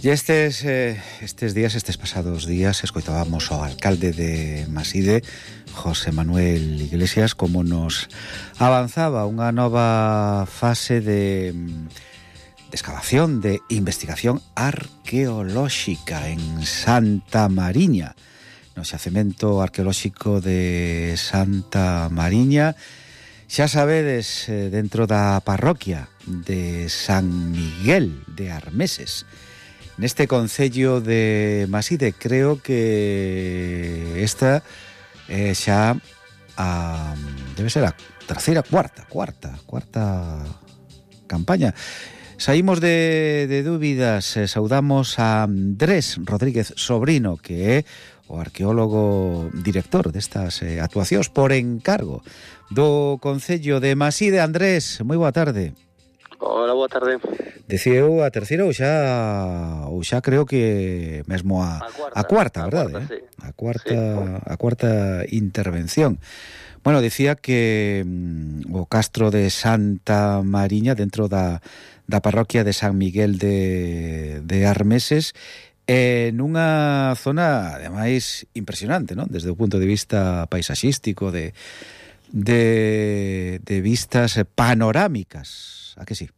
E estes pasados días escoitábamos ao alcalde de Maside, José Manuel Iglesias, como nos avanzaba unha nova fase de excavación, de investigación arqueolóxica en Santa Mariña, no xacemento arqueolóxico de Santa Mariña. Xa sabedes, dentro da parroquia de San Miguel de Armeses, neste concello de Maside. Creo que esta xa debe ser a terceira, cuarta campaña. Saímos de dúbidas, saudamos a Andrés Rodríguez Sobrino, que é o arqueólogo director destas actuacións por encargo do concello de Maside. Andrés, moi boa tarde. Hola, boa tarde. Decía eu a terceira ou xa creo que mesmo a cuarta, verdade? Sí. A cuarta intervención. Bueno, decía que o castro de Santa Mariña, dentro da parroquia de San Miguel de Armeses, nunha zona, ademais, impresionante, non? Desde o punto de vista paisaxístico, de vistas panorámicas, a que sí?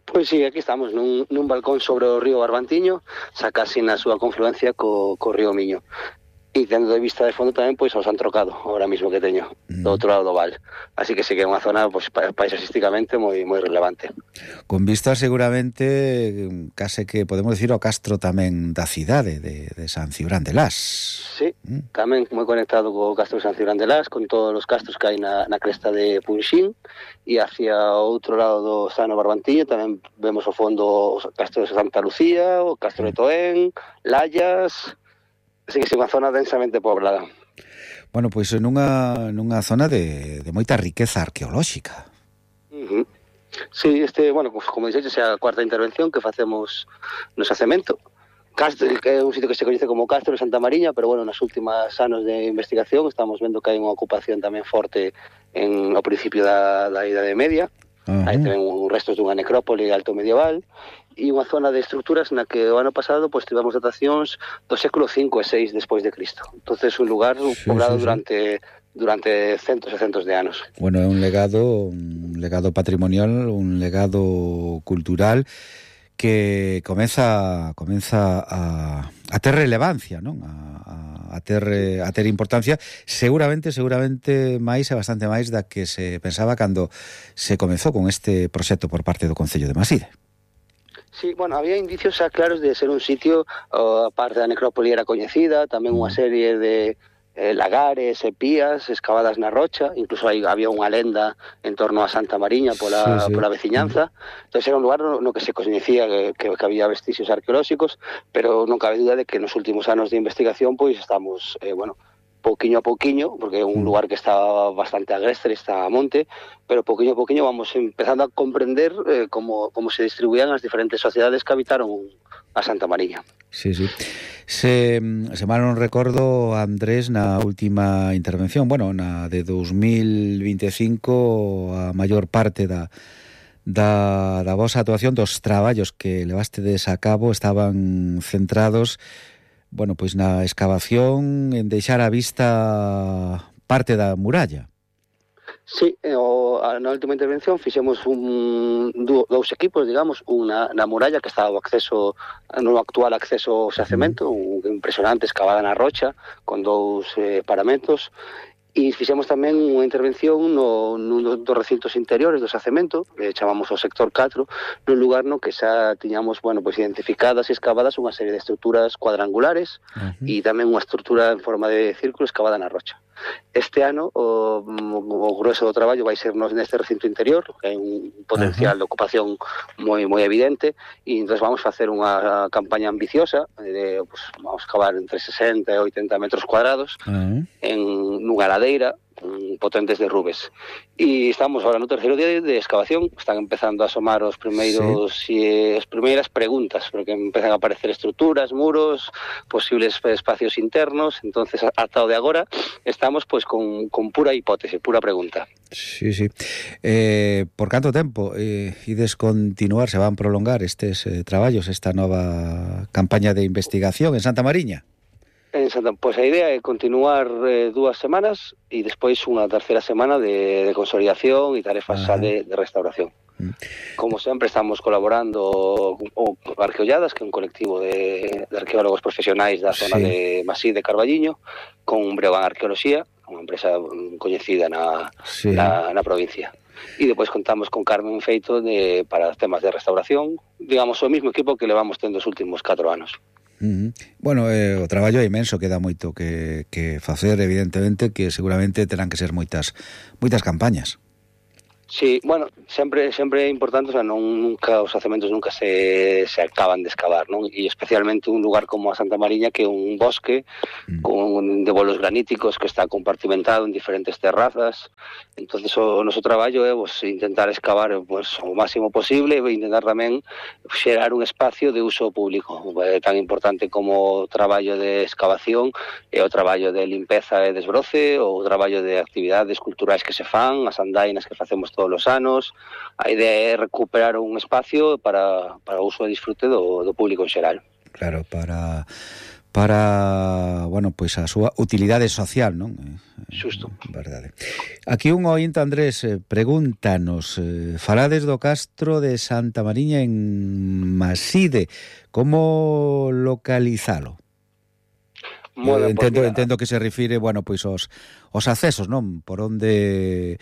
Pois sí, aquí estamos nun balcón sobre o río Barbantiño, xa casi na súa confluencia co río Miño. E tendo de vista de fondo tamén, pois, os han trocado ahora mismo que teño, do outro lado do val. Así que sí que é unha zona, pois, paisaxísticamente moi relevante. Con vista seguramente, case que podemos decir o castro tamén da cidade de San Cibrán de Las. Sí, tamén moi conectado co castro de San Cibrán de Las, con todos os castros que hai na cresta de Punxín, e hacia o outro lado do Sano Barbantiño tamén vemos ao fondo o castro de Santa Lucía, o castro de Toén, Layas. Así que é unha zona densamente poblada. Bueno, pois nunha zona de moita riqueza arqueolóxica. Sí, bueno, pues, como dixetes, é a cuarta intervención que facemos no xacemento. Castro, que é un sitio que se coñece como Castro de Santa Mariña, pero bueno, nas últimas anos de investigación estamos vendo que hai unha ocupación tamén forte ao principio da Idade Media. Hai tamén restos dunha necrópole alto medieval e unha zona de estruturas na que o ano pasado pois tivemos datacións do século V e VI despois de Cristo. Entonces un lugar poblado durante centos e centos de anos. Bueno, é un legado patrimonial, un legado cultural que comeza a ter relevancia, non? A ter importancia, seguramente máis e bastante máis da que se pensaba cando se comezou con este proxecto por parte do Concello de Maside. Sí, bueno, había indicios xa claros de ser un sitio, a parte da necrópole era coñecida, tamén unha serie de lagares e pías excavadas na rocha, incluso había unha lenda en torno a Santa Mariña pola veciñanza. Entón era un lugar no que se coñecía que había vestixios arqueolóxicos, pero non cabe duda de que nos últimos anos de investigación pois estamos, pouquiño a pouquiño, porque é un lugar que está bastante agrestre, está a monte, pero pouquiño a pouquiño vamos empezando a comprender como se distribuían as diferentes sociedades que habitaron a Santa Mariña. Sí. Se mal non recordo, Andrés, na última intervención, bueno, na de 2025, a maior parte da vosa actuación, dos traballos que levastedes a cabo, estaban centrados, bueno, pois na excavación, en deixar a vista parte da muralla. Sí, na última intervención fixemos dous equipos, digamos, unha na muralla que estaba no actual acceso ao xacemento, impresionante, excavada na rocha, con dous paramentos, e fixemos tamén unha intervención nun dos recintos interiores do xacemento, que chamamos o sector 4, nun lugar no que xa tiñamos, bueno, pois identificadas e excavadas unha serie de estruturas cuadrangulares e tamén unha estrutura en forma de círculo excavada na rocha. Este ano o grueso do traballo vai ser neste recinto interior, que hai un potencial de ocupación moi evidente, e entón vamos facer unha campaña ambiciosa, vamos cavar entre 60 e 80 metros cuadrados nunha ladeira potentes derrubes. E estamos ahora no terceiro día de excavación, están empezando a asomar as primeiras preguntas, porque empezan a aparecer estruturas, muros, posibles espacios internos. Entonces, ata o de agora, estamos pois con pura hipótese, pura pregunta. Sí. Por canto tempo ides continuar, se van prolongar estes traballos, esta nova campaña de investigación en Santa Mariña? Pois a idea é continuar 2 semanas e despois unha terceira semana de consolidación e tarefas xa de restauración. Como sempre, estamos colaborando con Arqueolladas, que é un colectivo de arqueólogos profesionais da zona de Masí de Carballiño, con Breogán Arqueoloxía, unha empresa coñecida na provincia. E depois contamos con Carmen Feito para temas de restauración, digamos, o mesmo equipo que levamos tendo os últimos 4 anos. Bueno, o traballo é imenso, queda moito que facer, evidentemente, que seguramente terán que ser moitas campañas. Sí, bueno, sempre é importante, o sea, nunca os xacementos nunca se acaban de excavar, non? E especialmente un lugar como a Santa Mariña, que é un bosque de bolos graníticos que está compartimentado en diferentes terrazas. Entonces o noso traballo é intentar excavar o máximo posible e intentar tamén xerar un espacio de uso público. É tan importante como o traballo de excavación e o traballo de limpeza e desbroce, ou o traballo de actividades culturais que se fan, as andainas que facemos todos os anos. A idea é recuperar un espacio para o uso e disfrute do público en xeral. Claro, para bueno, pois a súa utilidade social, non? Xusto. Verdade. Aquí un ointe, Andrés, pregúntanos, falades do Castro de Santa Mariña en Maside, como localizalo? Entendo que se refire, bueno, pois os accesos, non? Por onde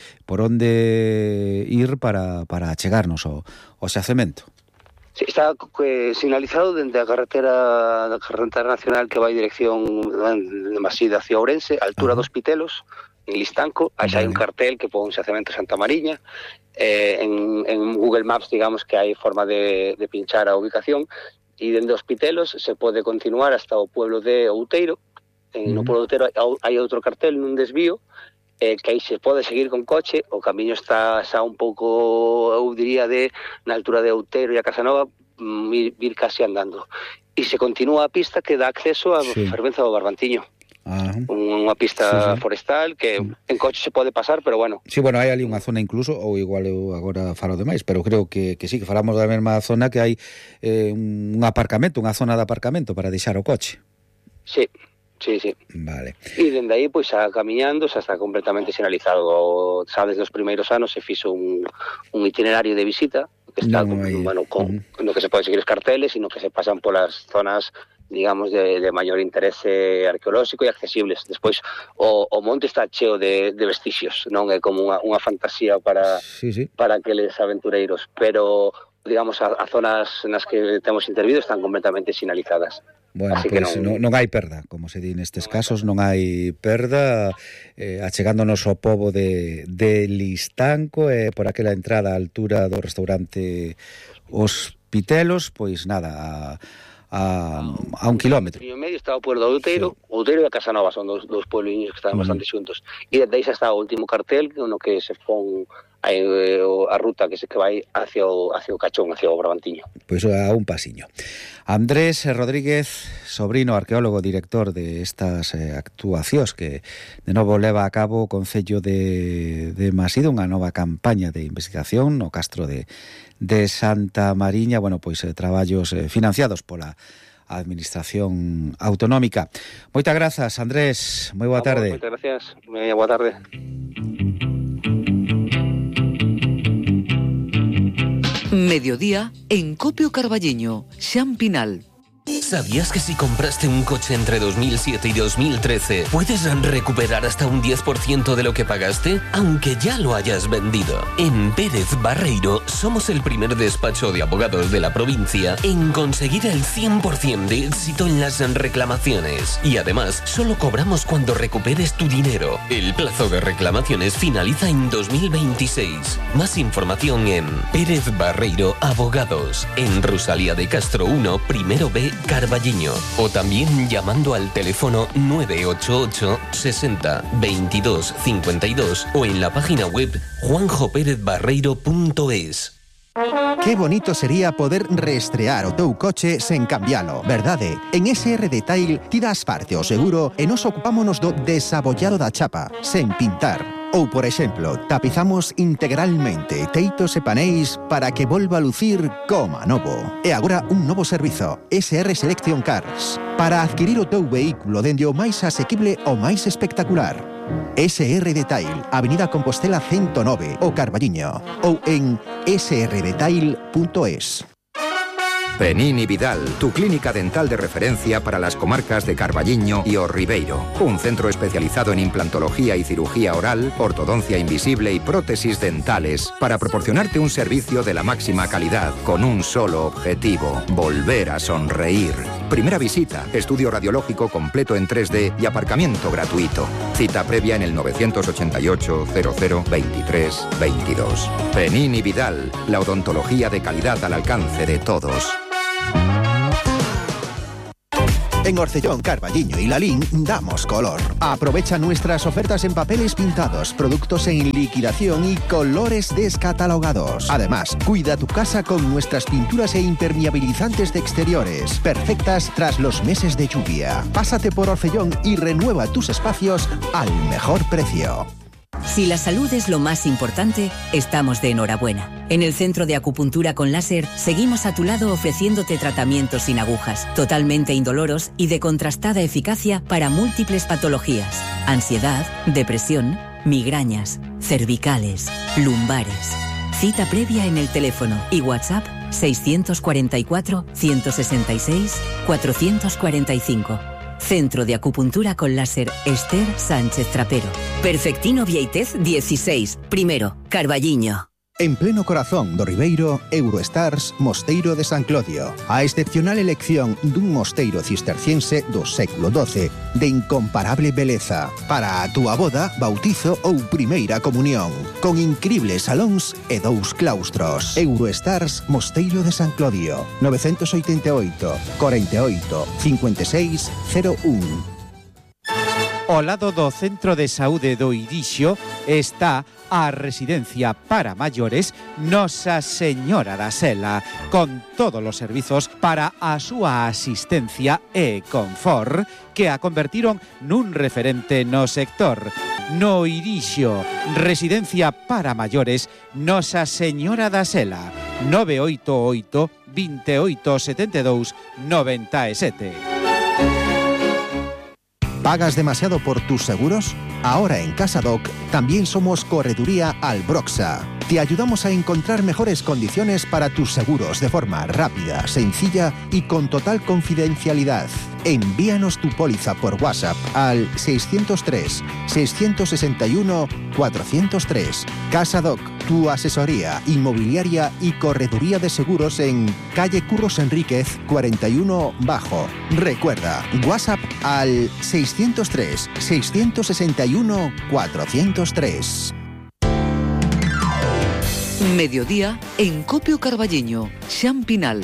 ir para achegarnos ao xacemento. Sí, está sinalizado dende a carretera nacional que vai dirección de Maside hacia Ourense, a altura dos Pitelos, en Listanco. Aí hai un cartel que pon xacemento Santa Mariña. En Google Maps, digamos que hai forma de pinchar a ubicación. E dende os Pitelos se pode continuar hasta o pueblo de Outeiro. No pueblo de Outeiro hai outro cartel nun desvío, que aí se pode seguir con coche. O camiño está xa un pouco, eu diría, na altura de Outeiro e a Casanova, vir casi andando. E se continúa a pista que dá acceso a Fervenza do Barbantiño. Unha pista forestal que en coche se pode pasar, pero bueno. Sí, bueno, hai ali unha zona incluso, ou igual eu agora falo demais, pero creo que sí, que falamos da mesma zona, que hai un aparcamento, unha zona de aparcamento para deixar o coche. Sí. Vale. E dende aí, pois, xa camiñando, xa está completamente sinalizado. Xa desde os primeiros anos se fixo un itinerario de visita que está, bueno, no que se pode seguir os carteles e no que se pasan polas zonas, digamos, de maior interese arqueolóxico e accesibles. Despois, o monte está cheo de vestixios, non é como unha fantasía para aqueles aventureiros, pero, digamos, as zonas nas que temos intervido están completamente sinalizadas. Bueno, pois non hai perda, como se di nestes casos, non hai perda, achegándonos ao pobo de Listanco, por aquela entrada á altura do restaurante Os Pitelos, pois nada, a 1 kilómetro. E en medio está o pueblo de Outeiro, Outeiro e a Casanova, son dos puebliños que están bastante xuntos. E desde aí xa está o último cartel, no que se pon a ruta que vai hacia o Cachón, hacia o Brabantiño. Pois a un pasiño. Andrés Rodríguez, sobrino arqueólogo, director de estas actuacións que de novo leva a cabo o Concello de Maside, unha nova campaña de investigación no Castro de Santa Mariña, bueno, pois traballos financiados pola Administración Autonómica. Moitas grazas, Andrés, moi boa tarde. Moitas gracias, boa tarde. Mediodía en Copio Carballiño, Xan Pinal. ¿Sabías que si compraste un coche entre 2007 y 2013 puedes recuperar hasta un 10% de lo que pagaste, aunque ya lo hayas vendido? En Pérez Barreiro somos el primer despacho de abogados de la provincia en conseguir el 100% de éxito en las reclamaciones. Y además, solo cobramos cuando recuperes tu dinero. El plazo de reclamaciones finaliza en 2026. Más información en Pérez Barreiro Abogados, en Rosalía de Castro 1, primero B, Carballiño. O también llamando al teléfono 988 60 22 52 o en la página web juanjoperezbarreiro.es. Qué bonito sería poder reestrear o teu coche sen cambialo, verdade? En SR Detail ti das parte o seguro e nos ocupámonos do desabollado da chapa, sen pintar. Ou, por exemplo, tapizamos integralmente teitos e paneis para que volva a lucir como novo. E agora un novo servizo, SR Selection Cars, para adquirir o teu vehículo dende o máis asequible ao máis espectacular. SR Detail, Avenida Compostela 109, o Carballiño, ou en srdetail.es. Penín y Vidal, tu clínica dental de referencia para las comarcas de Carballiño y O Ribeiro. Un centro especializado en implantología y cirugía oral, ortodoncia invisible y prótesis dentales para proporcionarte un servicio de la máxima calidad con un solo objetivo: volver a sonreír. Primera visita, estudio radiológico completo en 3D y aparcamiento gratuito. Cita previa en el 988 00 23 22. Penín y Vidal, la odontología de calidad al alcance de todos. En Orcellón, Carballiño y Lalín damos color. Aprovecha nuestras ofertas en papeles pintados, productos en liquidación y colores descatalogados. Además, cuida tu casa con nuestras pinturas e impermeabilizantes de exteriores, perfectas tras los meses de lluvia. Pásate por Orcellón y renueva tus espacios al mejor precio. Si la salud es lo más importante, estamos de enhorabuena. En el Centro de Acupuntura con Láser seguimos a tu lado ofreciéndote tratamientos sin agujas, totalmente indoloros y de contrastada eficacia para múltiples patologías: ansiedad, depresión, migrañas, cervicales, lumbares. Cita previa en el teléfono y WhatsApp 644 166 445. Centro de Acupuntura con Láser Esther Sánchez Trapero. Perfectino Vieitez 16, primero, Carballiño. En pleno corazón do Ribeiro, Eurostars Mosteiro de San Clodio. A excepcional elección dun mosteiro cisterciense do século XII de incomparable beleza para a túa boda, bautizo ou primeira comunión, con incribles salóns e 2 claustros. Eurostars Mosteiro de San Clodio, 988 48 56 01. Ao lado do Centro de Saúde do Irixo está a residencia para maiores Nosa Señora da Sela, con todos os servizos para a súa asistencia e confort, que a convertiron nun referente no sector. No Irixo, residencia para maiores Nosa Señora da Sela, 988 28 72 97. ¿Pagas demasiado por tus seguros? Ahora en CasaDoc también somos Correduría Albroxa. Te ayudamos a encontrar mejores condiciones para tus seguros de forma rápida, sencilla y con total confidencialidad. Envíanos tu póliza por WhatsApp al 603 661 403. CasaDoc, tu asesoría inmobiliaria y correduría de seguros en calle Curros Enríquez 41 Bajo. Recuerda, WhatsApp al 603 661 403. Mediodía en Copio Carballiño, Xan Pinal.